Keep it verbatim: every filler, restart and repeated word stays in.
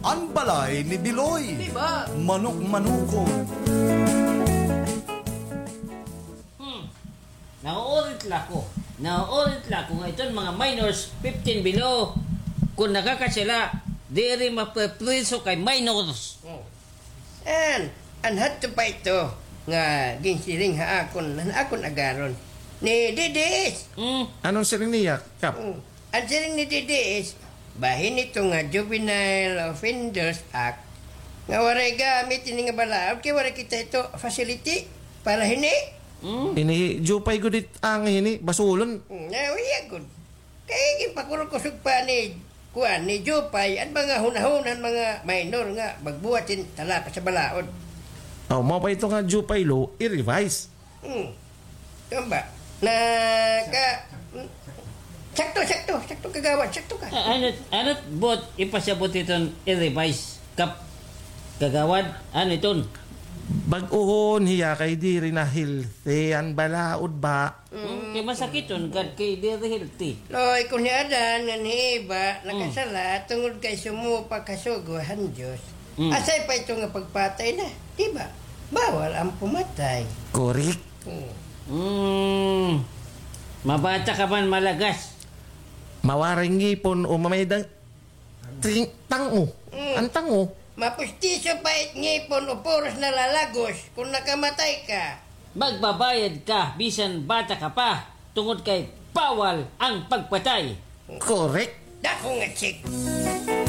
An balay ni Biloy. Di ba? Manok-manokon. Hmm. Nauulit la ko. Nauulit la ko nga iton mga minors, fifteen below, kon nakakasala, diri maprepriso kay minors. Oh. An, an hadto pa ito nga ginsiring ha akon, han akon agaron. Ni D D S. Hmm. Ano an siring niya, Kap? Hmm. An siring ni D D S, bahin ito nga Juvenile Offenders Act, nga waray gamit ini nga balaod, kay waray kita ito facility para hini. Hmm? Ini, Jupay gud it ang hini, basulon. Hmm, na, uya gud. Kay ginpakurkusog pa ni, kuan, ni Jupay, an mga hunahuna han mga minor nga magbuhat hin talapa sa balaod. Oh, mao pa ito nga Jupay law, i-revise. Hmm. Tama ba? Na ka, hmm. Sakto, sakto, sakto, kagawad, sakto ka. Ah, ano, ano, buot, ipasabot iton i-revise, Kap, kagawad, ano iton? Bag-ohon hiya kay diri na healthy an balaod ba? Hmm, kay masakiton gad kay diri healthy. Loy, kon hi Adan ngan hi Eva, hmm, nakasala, tungod kay sumupak ha sugo han Diyos. Hmm. Asay pa ito nga pagpatay na, di ba? Bawal an pumatay. Correct. Hmm. Hmm. Mabata ka man, malagas. Mawaray ngipon o mamayda an ting-, tang-o. Hmm. An tang-o. Mapustiso pa it ngipon o puros nalalagos kon nakamatay ka. Magbabayad ka bisan bata ka pa, tungod kay bawal an pagpatay. Correct. Dako nga check.